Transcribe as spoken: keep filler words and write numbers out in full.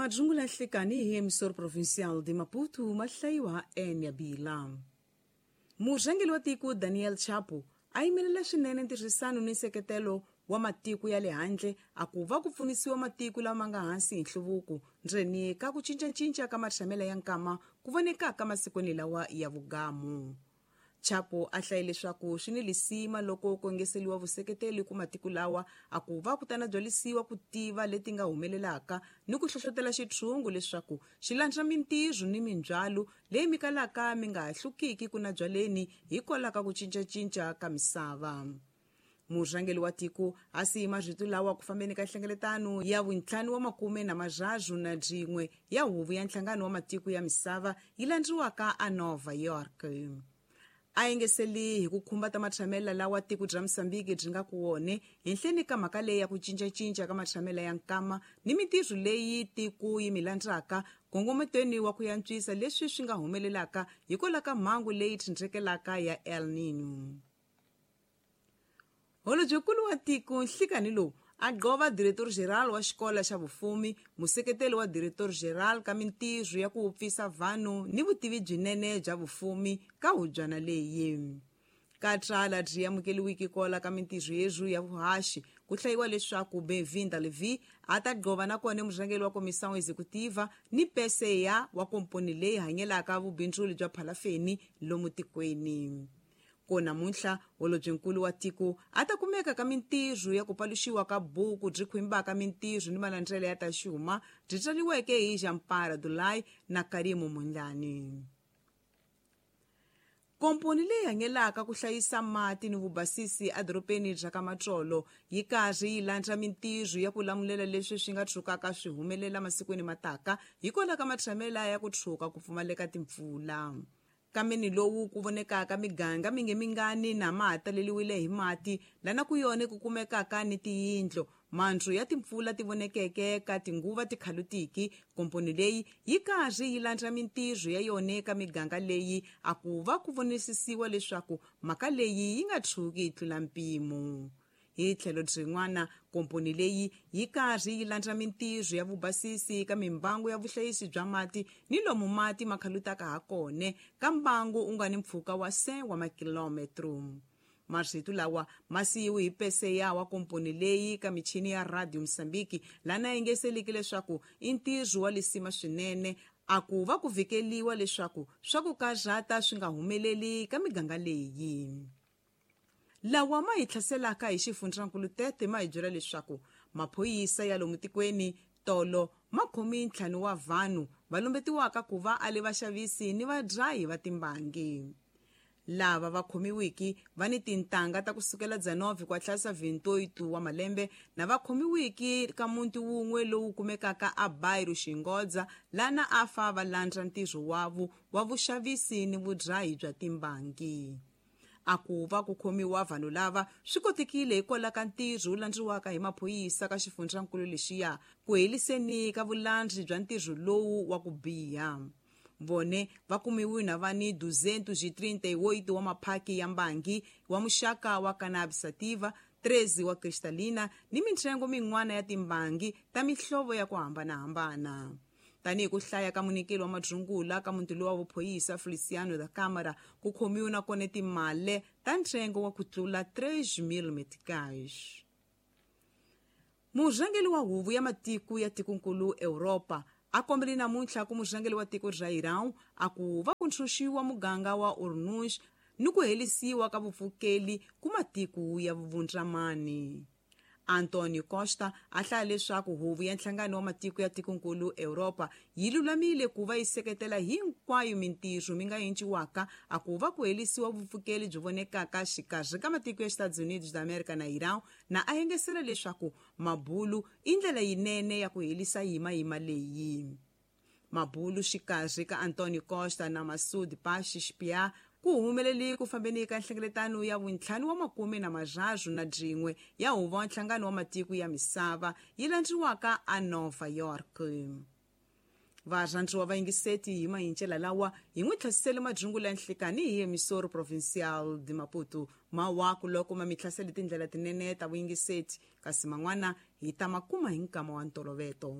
Majungula nhlikani hi emissor provincial de Maputo mahlayiwa Enya Bila. Murhangeri wa tiko Daniel Chapo a yimelela swinene ntirhisano ni nseketelo wa matiko ya le handle a ku va ku pfunisiwa matiko lama nga hansi hi nhluvuko ndzeni ka ku cincacinca ka matshamelo ya nkama ku vonekaka masikwini lawa ya vugamu. Chapo a hlaye leswaku swi ni lisima loko ku engeseliwa vuseketeli ku matiko lawa a ku va ku tana byalisiwa ku tiva leti nga humelelaka ni ku hlohlotela xitshungu leswaku xi landza mintirho ni mindzhwalo leyi mikalaka mi nga hlukiki ku na byaleni hikwalaho ka ku cincacinca ka misava. Murhangeri wa tiko a siyi marito lawa ku fambeni ka nhlengeletano ya vuntlhanu wa makume na marharhu na byin'we ya huvo ya nhlangano wa matiko ya misava yi landziwaka a Nova York. A engeseli hi ku khumba ta matshamela lawa tiko bya Mozambique byi nga ku wone henhleni ka mhaka leyi ya ku cincacinca ka matshamela ya nkama ni mintirho leyi tiko yi milandzaka nkongometweni wa ku yantswisa leswi swi nga humelelaka hikwalaho ka mhangu leyi tshindzekelaka ya El Niño. Holobyenkulu wa tiko nhlikani lowu a gqova diretor geral wa xikolo xa vufumi, museketeli wa diretor geral ka mintirho ya ku wupfisa vanhu ni vutivi byinene bya vufumi ka hubyana leyi. Ka tsala byi amukeliwiki kola ka mintirho yezwu ya vuhaxi ku hlayiwa leswaku Benvinda Levi a ta gqova nakona murhangeri wa Comissão Executiva ni P C A wa komponi leyi hanyelaka vubindzuli bya phalafeni lomu tikweni. Ko namuntlha holobyenkulu wa tiko a ta kumeka ka mintirho ya ku paluxiwa ka buku byi khwimbaka mintirho ni malandzelo ya ta xuma byi tsariweke hi Jampara Dulai na Karimu Mundlani. Komponi leyi hanyelaka ku hlayisa mati ni vubasisi edorobeni bya ka Matsolo yi karhi yi landza mintirho ya ku lamulela leswi swi nga tshukaka swi humelela masikwini mataka hikwalaho ka matshamela ya ku tshuka ku pfumaleka timpfula. Kameni lowu ku vonekaka miganga minge mingani na ma taleliwile hi mati lana ku yone ku kumekaka ni tiyindlo mandzu ya timpfula ti vonekeke ka tinguva tikhalutiki. Komponi leyi yi karhi yi landza mintirho ya yone ka miganga leyi a ku va ku vonisisiwa leswaku mhaka leyi yi nga tshuki yi tlula mpimo. Hi tlhelo byin'wana komponi leyi yi karhi yi landza mintirho ya vubasisi ka mimbangu ya vuhlayisi bya mati ni lomu mati ma khalutaka ha kona ka mbangu u nga ni mpfhuka wa se wa makilometro. Marito lawa ma siyiwe hi P C A wa komponi leyi ka michini ya Radio Mozambique lana engeseliki leswaku i ntirho wa lisima swinene a ku va ku vhikeliwa leswaku swa ku karhata swi nga humeleli ka miganga leyi. Lawa ma hi tlhaselaka hi xifundzankulu Tete ma hi byela leswaku maphorisa ya lomu tikweni tolo ma khomi ntlhanu wa vanhu va lumbetiwaka ku va a le vaxavisi ni vadlayi va timbangi. Lava va khomiwiki va ni tintangha ta kusukela dzanove kwa tlhasa vintoitu wa malembe na va khomiwiki ka muti wun'we lowu kumekaka a Bairro Xingodza lana a fa va landza ntirho wavo wa vuxavisi ni vudlayi bya timbangi. A ku va ku khomiwa vanhu lava swi kotekile hikwalaho ka ntirho wu landziwaka hi maphorisa ka xifundzankulu lexiya ku heliseni ka vulandzi bya ntirho lowu wa ku biha. Vone va kumiwe na va ni duzentos e trinta e oito wa maphaki ya mbangi wa muxaka wa cannabis sativa, treze wa cristalina ni mintsengo min'wana ya timbangi ta mihlovo ya ku hambanahambana. Tanihi ku hlaya ka munyikeli wa madzungula ka muti lowa vuphorisa Feliciano da Câmara ku khomiwe na kona timale ta ntsengo wa ku tlula três mil meticais. Murhangeri wa huvo ya matiko ya tikonkulu Europa a kombele namuntlha ku murhangeri wa tiko ra Iran a ku va ku ntshunxiwa muganga wa Ormuz ni ku helisiwa ka vupfukeli ku matiko ya vuvundzamani. Antonio Costa a hlaya leswaku huvo ya nhlangano wa matiko ya tikonkulu Europa yi lulamile ku va yi seketela hinkwayo mintirho mi nga enciwaka a ku va ku helisiwa vupfukeli byi vonekaka xikarhi ka matiko ya Estados Unidos da America na Iran na a engesela leswaku mabulu i ndlela yinene ya ku helisa yimayima leyi. Mabulu xikarhi ka Antonio Costa na Masoud Pezeshkian ku humeleli ku fambeni ka nhlengeletano ya vuntlhanu wa makume na marharhu na byin'we ya huvo wa nhlangano wa matiko ya misava yi landziwaka a Nova York. Varhandziwa va yingiseti hi mahincela lawa hi n'wi tlhasisele majungula ya nhlikani hi emissoro provincial de Maputo mawaku loko ma mi tlhasele tindlela tinene ta vuyingiseti kasi man'wana hi ta makuma hi nkama wa ntoloveto.